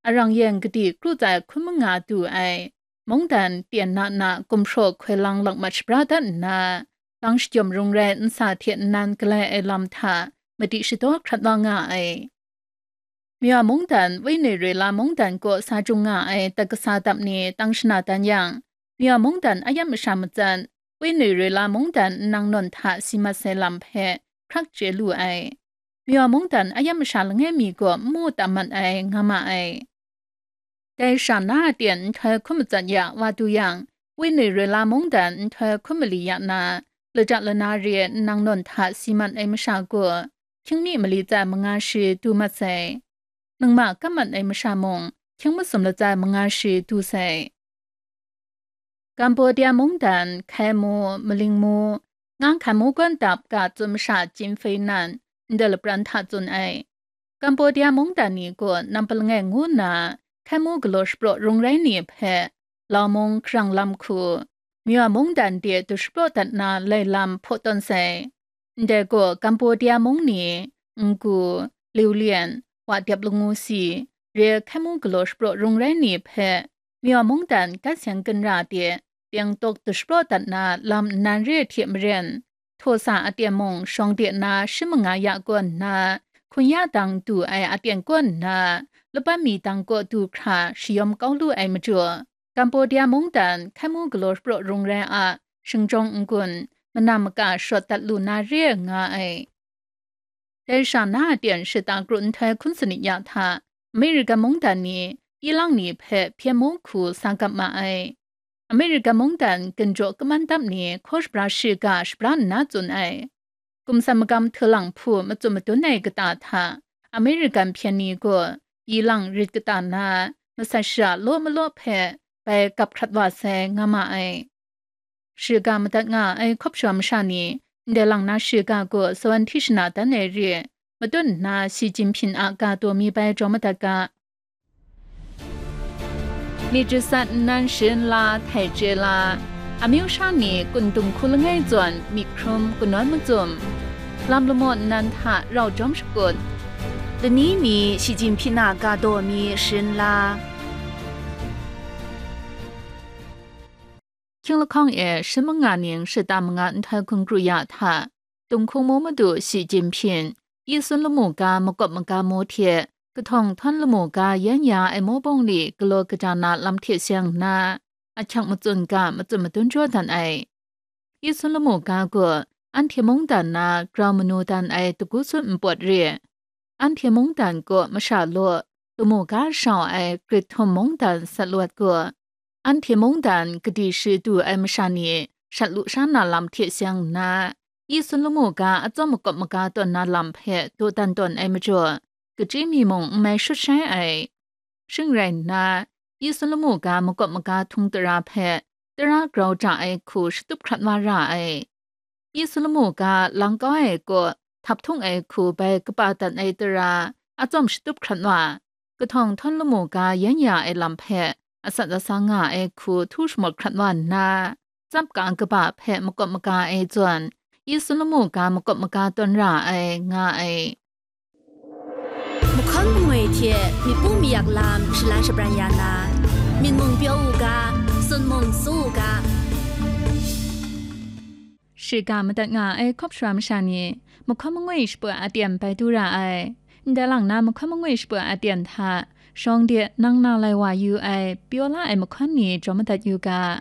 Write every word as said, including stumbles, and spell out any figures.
arang yen kadi kru tsai hkun manga du ai, mungdan tyen na na gumhpraw hkoi lang lakmat shabra dat nna, lang shajawm rung rai nsa hte nnan galai ai lam hta madi shadaw hkrat wa nga ai. Myaw mungdan, wenoi roi la mungdan kaw sa jung nga ai dat kasa dap ni tang shana dan yang, myaw mungdan a yam masha matsat, wenoi roi la mungdan nnang nawn hta si mat sai lam hpe hkrak chye lu ai. Myaw mungdan a yam masha langai mi gaw n mu tam mat ai, nga ma ai. Dai sha na a tyen nhtoi hkun matsat ya wa du yang, wenoi roi la mungdan nhtoi hkun mali ya na, laja lana re nnang nawn hta si mat ai masha gaw, hkying mi mali tsai manga shi du mat sai. Ningma kam mat ai masha mung, hkying masum latsai manga shi du sai. Kambodia mungdan, Hkai mu, Maling mu, Ngang Hkan mu gawn dap ga tsun masha Chin Fei nan, ndai lapran hta tsun ai. Kambodia mungdan ni gaw nampa langai ngu nna, Hkai mu galaw shapraw rung rai ni hpe, Lau mung hkarang lam hku, Myaw mungdan de du shapraw dat na lai lam hpaw tawn sai. Ndai gaw Kambodia mung ni, Ngu, Liu Lian, Wa Dep Langu Si, re Hkai mu galaw shapraw rung rai ni hpe, Myaw mungdan gat seng ginra de, teng tawk du shapraw dat na lam nnan re hte maren, htaw sa a tyen mung shawng de na shi manga ya kaw nna, hkun ya dang du ai a tyen kaw nna, laban mi dang kaw du hkra shayawm kau lu ai majaw, Kambodia mungdan Hkai mu galaw shapraw rung rai a, shingjawng n-gun, manam maka shawt dat lu na re ai nga ai. Dai sha na a tyen shata kru nhtoi hkun sanit ya hta, American mungdan ni, ilang ni hpe hpyen mu hku sa gap ma ai. American mungdan ginjaw kaman dap ni hkaw shabra shiga shabra nna tsun ai. Gumsat magam htulang hpu matsun madun ai kata hta, American hpyen ni gaw ilang rit kata na, masat sha law malaw hpe bai gap hkrat wa sai, nga ma ai. Shiga madat nga ai hkawp shawa masha ni, ndai lang na shiga gaw sawan hti shana dan ai re, matut nna Xi Jinping a ga taw mi bai jaw madat ga. Myit jasat nnan sharin la, htai chye la, amyu sha ni kun dung hku langai zawn myit hkrum kanawn macum, lam lamaw nnan hta rau jawm shakut, lani mi Xi Jinping a ga taw mi sharin la. Hkying lahkawng e shi manga ning shata manga nhtoi hkun kru ya hta, Tung hkung mu madu Xi Jinping, Yi Sun lamu ga makawp maga mu hte, kahtawng htawn lamu ga yan ya ai mu bawng li galaw kaja na lam hte seng nna, ahkyak matsun ga matsun madun jaw dan ai. Yi Sun lamu ga gaw, anhte mungdan na grau manu dan ai dagu sun npawt re. Anhte mungdan kaw masha law, lamu ga shau ai grit htum mungdan sat lawt gaw, anhte mungdan kadi shi du ai masha ni shat lu sha na lam hte seng nna, Yi Sun lamu ga atsawm makawp maga tawn na lam hpe dawdan tawn ai majaw, kachyi mi mung n mai shut shai ai. Shing rai nna, Yi Sun lamu ga makawp maga htung tara hpe tara grau ja ai hku shatup hkrat wa ra ai. Yi Sun lamu ga lang kau ai kaw, htap htung ai hku bai kaba dat ai tara, atsawm shatup hkrat wa, kahtawng htawn lamu ga yan ya ai lam hpe, atsat atsa nga ai hku htu shamawt hkrat wa nna, tsap ka kaba hpe makawp maga ai zawn, Yi Sun lamu ga makawp maga tawn ra ai, nga ai. Mahkawn mangwi hte myit pu mayak lam shalan shabran ya na, myit mung pyaw u ga, sun mung su u ga. Shiga madat nga ai hkawp shawa masha ni, mahkawn mangwi shaput aten bai du ra ai. Ndai lang na mahkawn mangwi shaput aten hta, shawng de nang na lai wa yu ai, pyaw la ai mahkawn ni jaw madat yu ga.